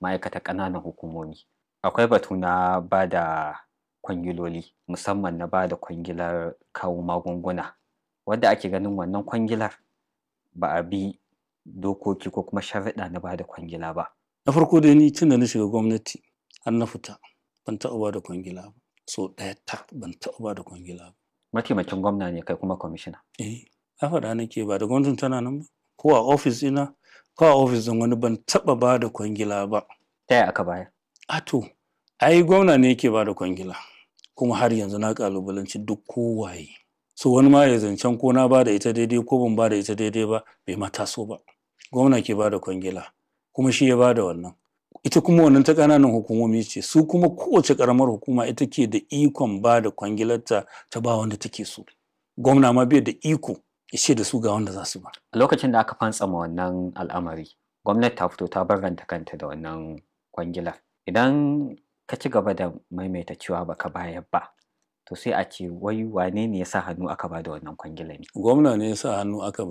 ma'aikatar ƙananan hukumomi. Akwai batu na ba da kwangiloli, musamman na ba da kwangilar kawo magunguna, wadda ake ganin wannan kwangilar ba a bi dokoki ko kuma sharuɗa na ba da kwangila ba. Na farko dai, ni tun da na shiga gwamnati har na fita, ban taɓa ba da kwangila ba. So ɗaya tak ban taɓa ba da kwangila ba. Mataimakin gwamna ne kai kuma kwamishina. Eh, na faɗa nake, ba da gwamnatin tana nan ba. Ko a ofis ɗina ko a ofis ɗin wani, ban taɓa ba da kwangila ba. Ta yaya aka bayar? A to, ai gwamna ne yake ba da kwangila. Kuma har yanzu na ƙalubalanci duk kowaye. So wani ma ya zancen ko na ba da ita daidai ko ban ba da ita daidai ba, bai ma taso ba. Gwamna ke ba da kwangila, kuma shi ya ba da wannan. Ita kuma wannan ta ƙananan hukumomi ce, su kuma kowace ƙaramar hukuma ita ke da ikon ba da kwangilarta ta ba wanda take so. Gwamna ma bai da iko ya ce da su ga wanda za su ba. A lokacin da aka fantsama wannan al'amari, gwamnati ta fito ta barranta kanta da wannan kwangilar. Idan ka ci gaba da maimaita cewa baka bayar ba, to sai a ce wai wane ne ya sa hannu aka ba da wannan kwangilar ne? Gwamna ne ya sa hannu aka bayar.